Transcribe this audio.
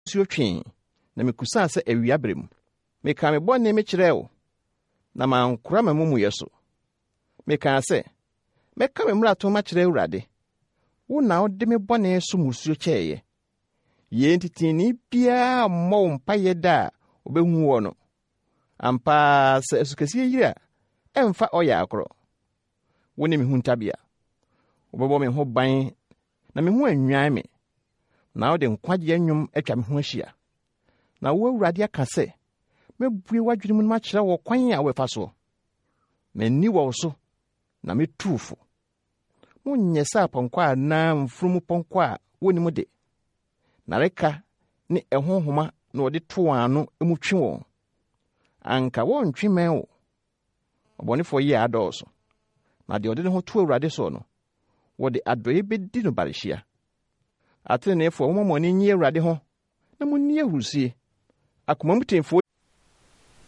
nisuo twee, na mekusaa sɛ awia bere mu. Mekaa me bɔne mekyerɛɛ wo, na mankora m'amumuyɛ so. Mekaa sɛ, Mɛka me mmarato makyerɛ Awurade. Wo na wode me bɔne so mmusuo kyɛeɛ. Yei nti tenenee biara mmɔ wo mpaeɛ da a ɔbɛhu woɔ no. Ampa ara sɛ asukɛseɛ yiri a, ɛmfa ɔyɛ akorɔ. Wo ne me huntabea. Wobɛbɔ me ho ban na me ho annwan me, na wode nkwagyeɛ nnwom atwa me ho ahyia. Na wo Awurade aka sɛ, Mɛbue w'adwene mu na makyerɛ wo ɔkwan a wobɛfa soɔ. M'ani wɔ wo so, na metu wo fo. Monyɛ sɛ apɔnkɔ anaa mfunumu pɔnkɔ a wonnim de. Nnareka ne ɛho nhoma na wɔde to wɔn ano mu twe wɔn. Anka wɔrentwe mmɛn wo. Ɔbɔnefoɔ yea adɔɔso, na deɛ ɔde ne ho to Awurade soɔ no, wɔde adɔeɛ bɛdi no barehyia. Ateneneefoɔ, momma mo ani nnye Awurade ho, na monni ahurusie. Akoma mu teefoɔ.